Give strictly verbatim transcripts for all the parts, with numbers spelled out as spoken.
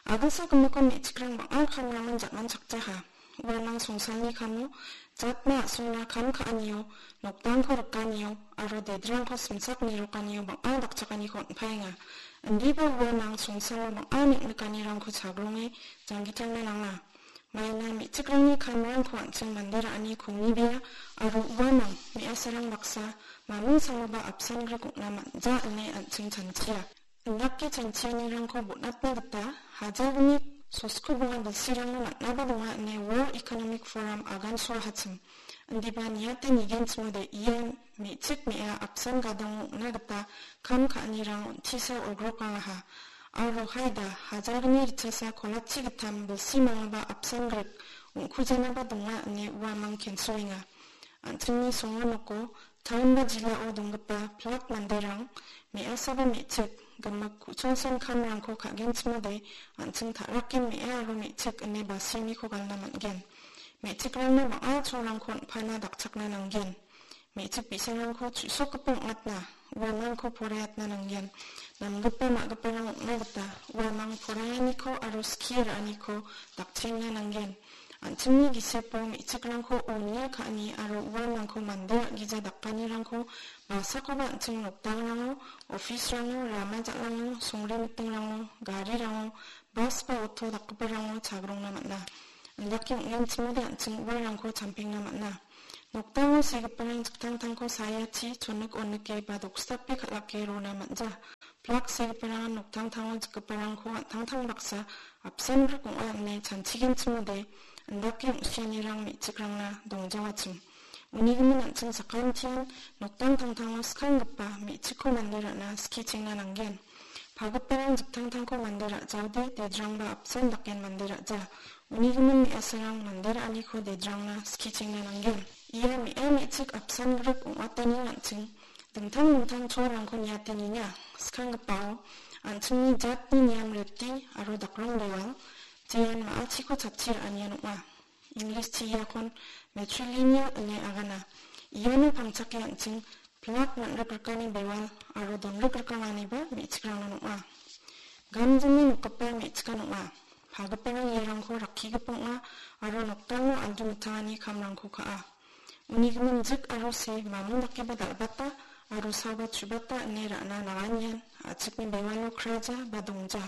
Agilsa gimikon me·chikrang bang·a kamrangon ja·manchakjaha. Uanang songsalni kamo, jatna a·songna kam ka·anio, nokdangko rikanio, aro dedrangko simsak nirokanio bang·a dakchakaniko on·paenga. Indiba uanang songsalo bang·a neng·nikanirangko chagronge janggitangna nanga. Maina me·chikrangni kamrangko an·ching mande ra·ani kongibea, aro uanang me·asarang baksa maming saloba apsan grik ong·na man·ja ine an·ching chanchia. Indake chanchianirangko bon·atna gita hajalni sosko bonga bilsirangna man·aba donga ine World Economic Forum agansoahachim. Indiba niate nigenchimode ia me·chik me·a apsan gadango ong·na gita kam ka·anirang on·tisa olgrokangaha. Aro haida hajalni ritchasa kolachi gittam bilsi mangaba apsan grik ong·kujanaba donga ine uamang kensoenga. An·chingni songo noko taon ba jilao donggipa pilak manderang me·asaba me·chik gimik ku·chongsan kamrangko ka·genchimode an·ching ta·raken me·a aro me·chik ine basianiko galna man·gen. Me·chikrangna bang·a cholrangko on·pana dakchakna nanggen. Me·chik bi·sarangko chu·sokgipa ong·atna, uamangko poraiatna nanggen. Namgipa ma·giparang ong·na gita uamang poraianiko aro skie ra·aniko dakchengna nanggen. An·chingni gisepo me·chikrangko onia ka·ani aro uamangko mande ra·gija dakanirangko basakoba an·ching nokdangrango, office-rango, rama ja·lango, songre mitingrango, garirango, bas ba auto dakgiparango chagrongna man·a. Indake ong·genchimode an·ching uarangko champengna man·a. Nokdango segiparang jiktangtangko sayachi chonik onike ba doksdape kal·ake rona man·ja. Pilak segiparangan noktangtango jikgiparangko an·tangtang baksa apsan grik ong·a ine chanchigenchimode indake ong·sianirang me·chikrangna dongjawachim. Unigimin an·ching sakantian noktangtangtango skanggipa me·chikko mande ra·na skichengna nanggen. Pagiparang jiktangtangko mande ra·jaode dedrangba apsan daken mande ra·ja. Unigimin me·asarang mande ra·aniko dedrangna skichengna nanggen. Ia me·a me·chik apsan grik ong·atani an·ching dingtang dingtang cholrangko niate nienga. Skanggipao an·chingni jatni niam reti aro dakrong dewal, jeon ma·achiko chatchi ra·anian ong·a. English-chi iakon matrilineal ine agana. Iano pangchake an·ching pilak man·rikrikani bewal aro donrikrikanganiba me·chikrangna ong·a. Gamjingni nokgipa me·chikan ong·a. Pagiparang iarangko rakkigipa ong·a aro nokdango aldu mitangani kamrangko ka·a. Uni gimin jik aro se mamung dakeba dal·bata aro saoba chubata ine ra·na nanganian a·chikni bewalo kraja ba dongja.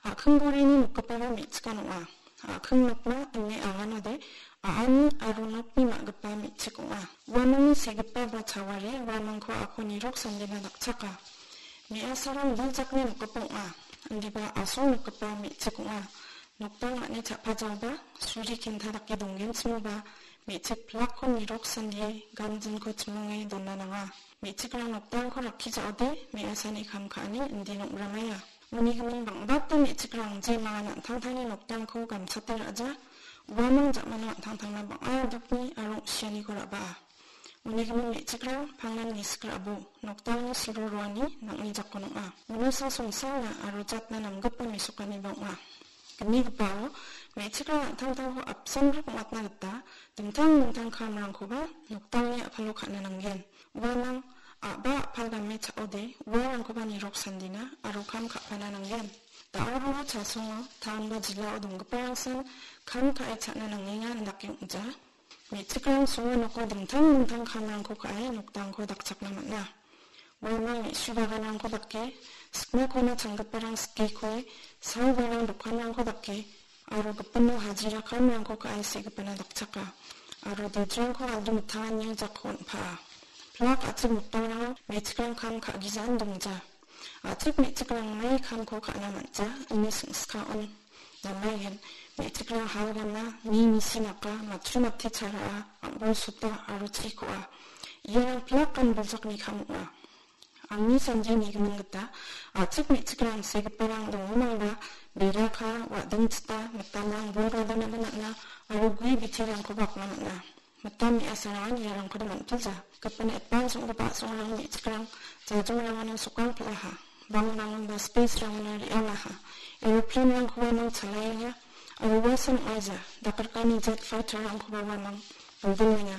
A·kinggorini nokgipaba me·chikan ong·a. A·king nokna ine aganode a·ani aro nokni ma·gipa me·chik ong·a. Uamangni segipa ba chawari uamangko ako nirok sandena dakchaka. Me·asarang biljakni nokgipa ong·a. Indiba a·song nokgipa me·chik ong·a. Nokdang a·ni cha·pajaoba suri kenta dake donggenchimoba me·chik pilakko nirok sandie gamjinko chimonge dona nanga. Me·chikrang nokdangko rakkijaode me·asani kam ka·ani indin ong·ramaia. Uni gimin bang·bata me·chikrang jemangan an·tangtangni nokdangko gamchate ra·ja, uamang ja·mano an·tangtangna bang·a dukni aro ong·sianiko ra·baa. Uni gimin me·chikrang pangnan gisik ra·bo, nokdangni siro roani nang·ni jakon ong·a. Unisa songsalna aro jatna namgipa mesokaniba ong·a. Gnigipao me·chikrang an·tangtangko apsan rik ong·atna gita dingtang dingtang kamrangkoba nokdangni a·palo ka·na nanggen. Uamang a·ba a·pal game cha·ode uarangkoba nirok sandina aro kam ka·pana nanggen. Da·o ro chasongo taon ba jilao donggiparangsan kam ka·e cha·na nangenga indake ong·ja. Me·chikrang songo noko dingtang dingtang kamrangko ka·e nokdangko dakchakna man·a. Uamang me·su baganrangko dake, sikmakona changgiparang sikekoe, sal barang dokanrangko dake, aro gipino hajira kamrangko ka·e segipana dakchaka, aro dejrangko aldu mitanganio jako on·paa. Pilak a·chik nokdangrango me·chikrang kam ka·gijaan dongja. A·chik me·chikrang mai kamko ka·na man·ja, ine singskaon. Namaigen, me·chikrang hal gana, mi misi naka, matchu mate charaa, am·bol sota aro chikoa. Iarang pilak gan biljakni kam ong·a. Angni sandie nigimin gita, a·chik me·chikrang segiparang dongimangba, beraka, wa·dingchita, mitamrang bol gadonaba man·a, aro gue biterangkoba akna man·a. Mitam me·asarangan iarangkoda man·pilja. Gipin etbang song·gipa a·songrang me·chikrang jajongrangono sokang pil·aha. Bangrangon ba space-rangona re·angaha. Aeroplane-rangkoba uamang chalaenga. Aro uasan ong·aija. Dakrikani jet fighter-rangkoba uamang bilbilenga.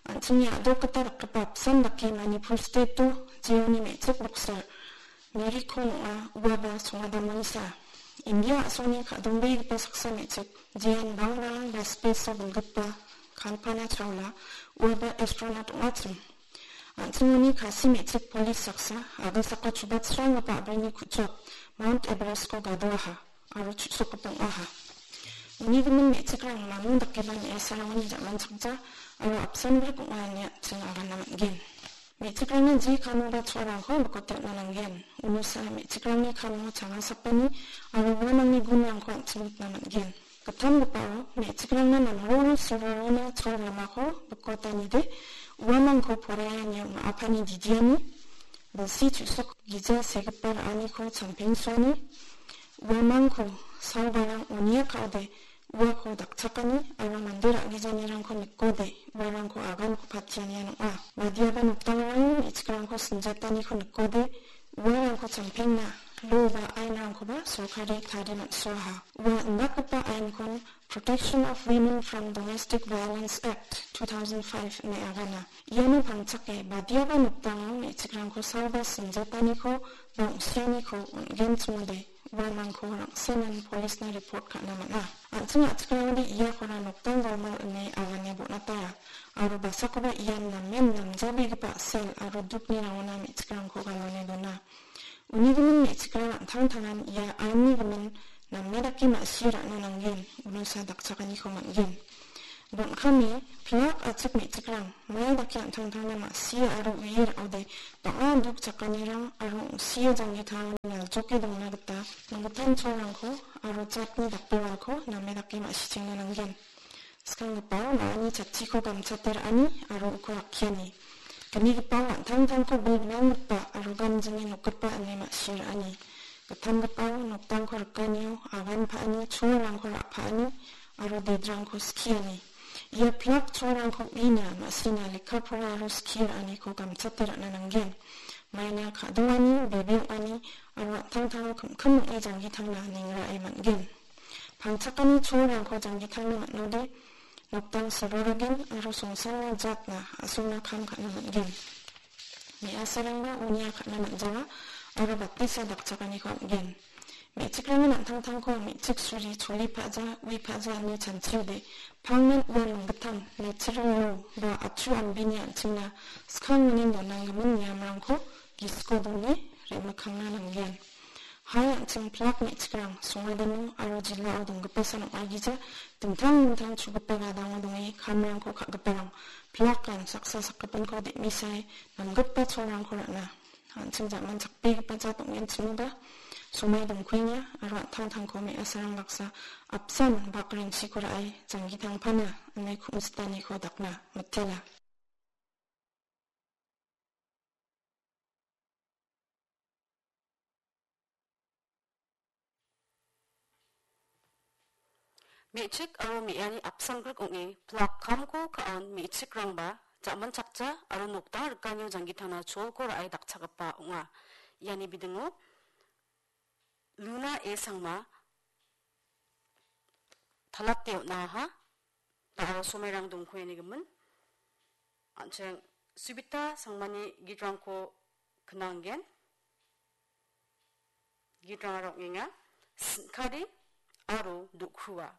An·chingni a·dok gita dakgipa apsan dake Manipur state-o jeoni me·chik boxer Mary Kom ong·a, uaba songadamangsa. India a·songni ka·dongbegipa saksa me·chik, jean bangrang ba space-o bilgipa Kalpana Chawla, uaba astronaut ong·achim. An·chingoni Khasi me·chik polis saksa, agasako chubatsranggipa a·brini ku·chok, Mount Everest-ko gadoaha, aro chu·sokgipa ong·aha. Uni gimin me·chikrang mamo dakeba me·asarangoni jamanchakja, aro apsan brik ong·a ine an·ching agana man·gen. Me·chikrangni je kamo ba cholrangko bikote on·a nanggen. Unosa me·chikrangni kamo changasapani aro uamangni gunrangko an·ching nikna man·gen. Gittamgipao me·chikrangna namroro sororona chol ramako bikotanide uamangko poraiani ong·apani didiani, bilsi chu·sok gija segipa ra·aniko champengsoani, uamangko saobarang onia ka·ode uako dakchakani aro mande ra·gijanirangko nikode uarangko aganko patianian ong·a. Badiaba nokdangrang me·chikrangko sinjataniko nikode uarangko champengna lo ba ainrangkoba sorkari tari man·soaha. Ua indakgipa ainkon Protection of Women from Domestic Violence Act two thousand five ine agana. Iano pangchake badiaba nokdango me·chikrangko saoba sinjataniko ba ong·sianiko on·genchimode uamangko rang·senan polisna report ka·na man·a. An·ching a·chikrangode iakora nokdang galmal ine agane bon·ataia. Aro basakoba ian namen namjabegipa a·sel aro dukni rangona me·chikrangko galone dona. Uni gimin me·chikrang an·tangtangan ia ainni gimin name dake ma·sie ra·na nanggen, unosa dakchakaniko man·gen. Bon·kame pilak achik me·chikrang mai dake an·tangtangna ma·sie aro uie ra·ode bang·a duk chakanirang aro ong·sie janggi taon naljoke dongna gita minggitan cholrangko aro jatni dakbewalko name dake ma·sichengna nanggen. Skanggipao na·ani chatchiko gamchate ra·ani aro uko rakkiani. Gnigipao an·tangtangko bilbinanggipa aro gamjinge nokgipa ine ma·sie ra·ani. Gittamgipao nokdangko rikanio agan pa·ani, cholrangko ra·paani aro dedrangko skiani. Ia pilak cholrangko uina ma·sina lekka pora aro skie ra·aniko gamchate ra·na nanggen. Maina ka·doani, bebe ong·ani aro an·tangtango kim·kim ong·e janggi tangna ningrae man·gen. Pangchakani cholrangko janggi tangna man·ode, nokdang sororogen aro songsanna jatna a·songna kam ka·na man·gen. Me·asarangba unia ka·na man·jawa aro batisa dakchakaniko am·gen. Me·chikrangni an·tangtangko me·chik suri choli pa·ja, ui pa·ja ine chanchiode, pangnan ua minggittam, natural law ba atchu ambini an·chingna skangmanin donanggimin niamrangko gisiko done re·mikkangna nanggen. Hai an·ching pilak me·chikrang songadino aro jilao donggipa san ong·agija dingtang dingtang chugipa gadango donge kamrangko ka·giparang pilakan saksa sakgipinko de·misae namgipa cholrangko ra·na an·ching jaman chakbegipa jat ong·genchimoba somai dongkuenga aro an·tangtangko me·asarang baksa apsan bakrengchiko ra·e janggi tangpana ine ku·sitaniko dakna mitela. Me·chik aro me·ani apsangrik ong·e pilak kamko ka·on me·chikrangba jamanchakja aro nokdang rikanio janggitana cholko ra·e dakchakgipa ong·a. Iani bidingo Luna A Sangma talate on·aha. Da·o somairang dongkoenigimin. An·ching Subita Sangmani gitrangko knanggen. Gitrangara ong·enga, Sin·kari aro Dokhua.